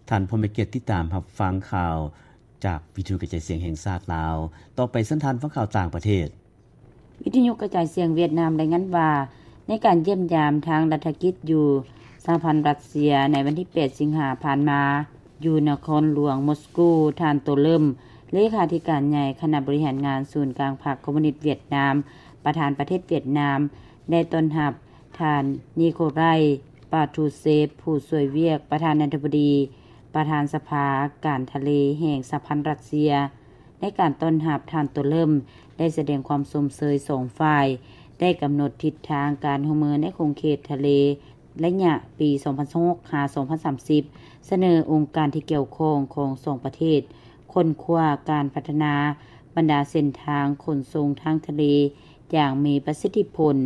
ທ່ານຜູ້ມີກຽດຕິດຕາມຮັບຟັງຂ່າວຈາກວິທະຍຸກະຈາຍສຽງແຫ່ງຊາດລາວ. ຕໍ່ໄປເຊີນທ່ານຟັງຂ່າວຕ່າງປະເທດ. ວິທະຍຸກະຈາຍສຽງຫວຽດນາມລາຍງານວ່າ ໃນການຢ້ຽມຢາມທາງລັດຖະກິດຢູ່ສະຫະພັນຣັດເຊຍໃນວັນທີແປດສິງຫາຜ່ານມາ ຢູ່ນະຄອນຫຼວງມົສກູ, ທ່ານ ໂຕເລີມ ເລຂາທິການໃຫຍ່ຄະນະບໍລິຫານງານສູນກາງພັກຄອມມູນິດຫວຽດນາມ, ປະທານປະເທດຫວຽດນາມ ໄດ້ຕ້ອນຮັບທ່ານ ນິໂຄໄລ ປາທູເຊຟ ຜູ້ຊ່ວຍວຽກປະທານາທິບໍດີ, ປະທານສະພາການທະເລແຫ່ງສະຫະພັນຣັດເຊຍ. ໃນການຕ້ອນຮັບ, ທ່ານ ໂຕເລີມ ໄດ້ສະແດງຄວາມຊົມເຊີຍສອງຝ່າຍ ໄດ້ກຳນົດທິດທາງການຮ່ວມມືໃນຂົງເຂດທະເລ ໄລຍະປີສອງພັນຊາວຫົກ ຫາ ສອງພັນສາມສິບ, ສະເໜີອົງການທີ່ກ່ຽວຂ້ອງຂອງສອງປະເທດ ຄົ້ນຄວ້າການພັດທະນາບັນດາເສັ້ນທາງຂົນສົ່ງທາງທະເລຢ່າງມີປະສິດທິຜົນ,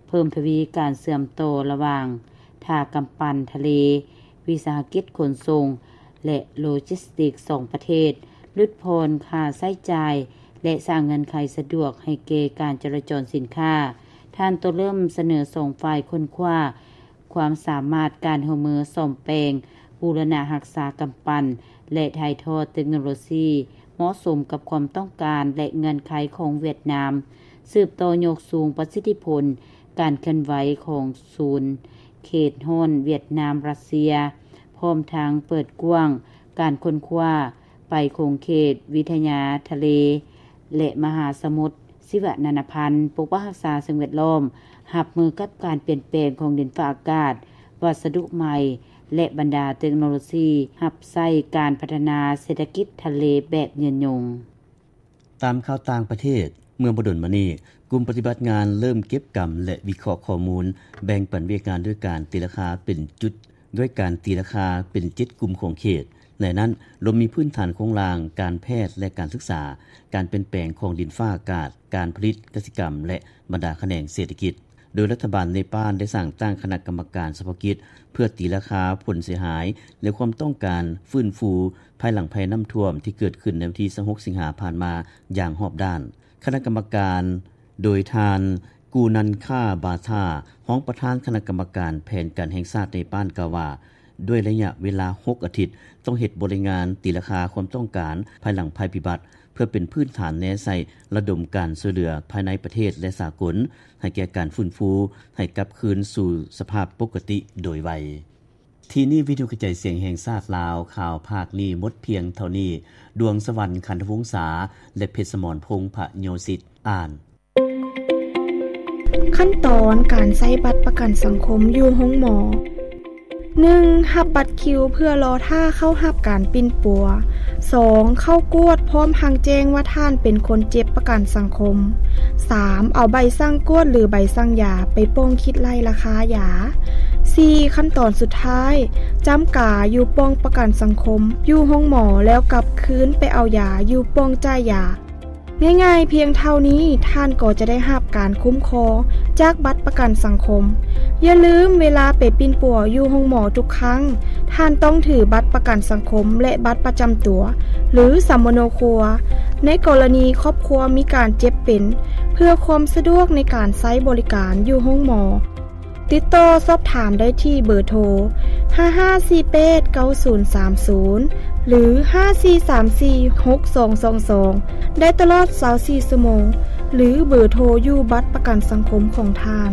ເພີ່ມທະວີການເຊື່ອມຕໍ່ລະຫວ່າງທ່າກຳປັ່ນທະເລ, ວິສາຫະກິດຂົນສົ່ງ ແລະ ໂລຈິສຕິກສອງປະເທດ, ຫຼຸດຜ່ອນຄ່າໃຊ້ຈ່າຍ ແລະ ສ້າງເງື່ອນໄຂສະດວກໃຫ້ແກ່ການຈະລາຈອນສິນຄ້າ. ທ່ານ ໂຕເລີມ ສະເໜີສອງຝ່າຍຄົ້ນຄວ້າຄວາມສາມາດການຮ່ວມມືສ້ອມແປງ, ບູລະນະຮັກສາກຳປັ່ນ ແລະ ຖ່າຍທອດເຕັກໂນໂລຊີເໝາະສົມກັບຄວາມຕ້ອງການ ແລະ ເງື່ອນໄຂຂອງຫວຽດນາມ, ສືບຕໍ່ຍົກສູງປະສິດທິຜົນການເຄື່ອນໄຫວຂອງສູນເຂດຮ້ອນຫວຽດນາມ-ຣັດເຊຍ, ພ້ອມທັງເປີດກວ້າງການຄົ້ນຄວ້າໄປຂົງເຂດວິທະຍາທະເລ ແລະ ມະຫາສະໝຸດ ຊີວະນານາພັນ, ປົກປັກຮັກສາສິ່ງແວດລ້ອມ, ຮັບມືກັບການປ່ຽນແປງຂອງດິນຟ້າອາກາດ, ວັດສະດຸໃໝ່ ແລະ ບັນດາເຕັກໂນໂລຊີຮັບໃຊ້ການພັດທະນາເສດຖະກິດທະເລແບບຍືນຍົງ. ຕາມຂ່າວຕ່າງປະເທດ, ເມື່ອບໍ່ດົນມານີ້, ກຸ່ມປະຕິບັດງານເລີ່ມເກັບກຳ ແລະ ວິເຄາະຂໍ້ມູນ, ແບ່ງປັນວຽກງານດ້ວຍການຕີລາຄາເປັນຈຸດ, ດ້ວຍການຕີລາຄາເປັນເຈັດກຸ່ມຂອງເຂດ. ໃນນັ້ນລວມມີພື້ນຖານໂຄງລ່າງ, ການແພດ ແລະ ການສຶກສາ, ການປ່ຽນແປງຂອງດິນຟ້າອາກາດ, ການຜະລິດກະສິກຳ ແລະ ບັນດາຂະແໜງເສດຖະກິດ, ໂດຍລັດຖະບານເນປານໄດ້ສ້າງຕັ້ງຄະນະກຳມະການສະເພາະກິດ ເພື່ອຕີລາຄາຜົນເສຍຫາຍ ແລະ ຄວາມຕ້ອງການຟື້ນຟູພາຍຫຼັງໄພນ້ຳຖ້ວມທີ່ເກີດຂຶ້ນໃນວັນທີຊາວຫົກສິງຫາຜ່ານມາຢ່າງຮອບດ້ານ. ຄະນະກຳມະການໂດຍທ່ານ ກູນັນຄາ ບາທາ ຮອງປະທານຄະນະກຳມະການແຜນການແຫ່ງຊາດເນປານ ກ່າວວ່າ ດ້ວຍໄລຍະເວລາຫົກອາທິດ ຕ້ອງເຮັດບົດລາຍງານຕີລາຄາຄວາມຕ້ອງການພາຍຫຼັງໄພພິບັດ ເພື່ອເປັນພື້ນຖານແນໃສ່ລະດົມການຊ່ວຍເຫຼືອພາຍໃນປະເທດ ແລະ ສາກົນ ໃຫ້ແກ່ການຟື້ນຟູໃຫ້ກັບຄືນສູ່ສະພາບປົກກະຕິໂດຍໄວ. ທີ່ນີ້ວິທະຍຸກະຈາຍສຽງແຫ່ງຊາດລາວ, ຂ່າວພາກນີ້ໝົດພຽງເທົ່ານີ້. ດວງສະຫວັນ ຂັນທະວົງສາ ແລະ ເພັດສະໝອນ ພົງພະໂຍສິດ ອ່ານ. ຂັ້ນຕອນການໃຊ້ບັດປະກັນສັງຄົມຢູ່ໂຮງໝໍ. ໜຶ່ງ, ຮັບບັດຄິວເພື່ອລໍຖ້າເຂົ້າຮັບການປິ່ນປົວ. ສອງ, ເຂົ້າກວດພ້ອມທັງແຈ້ງວ່າທ່ານເປັນຄົນເຈັບປະກັນສັງຄົມ. ສາມ, ເອົາໃບສັ່ງກວດ ຫຼື ໃບສັ່ງຢາໄປປ້ອງຄິດໄລ່ລາຄາຢາ. ສີ່, ຂັ້ນຕອນສຸດທ້າຍ, ຈ້ຳກາຢູ່ປ້ອງປະກັນສັງຄົມຢູ່ໂຮງໝໍ ແລ້ວກັບຄືນໄປເອົາຢາຢູ່ປ້ອງຈ່າຍຢາ. ງ່າຍໆພຽງເທົ່ານີ້, ທ່ານກໍຈະໄດ້ຮັບການຄຸ້ມຄອງຈາກບັດປະກັນສັງຄົມ. ຢ່າລືມ, ເວລາໄປປິ່ນປົວຢູ່ໂຮງໝໍທຸກຄັ້ງ, ທ່ານຕ້ອງຖືບັດປະກັນສັງຄົມ ແລະ ບັດປະຈຳຕົວ ຫຼື ສຳມະໂນຄົວ ໃນກໍລະນີຄອບຄົວມີການເຈັບເປັນ, ເພື່ອຄວາມສະດວກໃນການໃຊ້ບໍລິການຢູ່ໂຮງໝໍ. ຕິດຕໍ່ສອບຖາມໄດ້ທີ່ເບີໂທ ຫ້າຫ້າສີ່ແປດເກົ້າສູນສາມສູນ ຫຼື ຫ້າສີ່ສາມສີ່ຫົກສອງສອງສອງ ໄດ້ຕະຫຼອດຊາວສີ່ຊົ່ວໂມງ ຫຼື ເບີໂທຢູ່ບັດປະກັນສັງຄົມຂອງທ່ານ.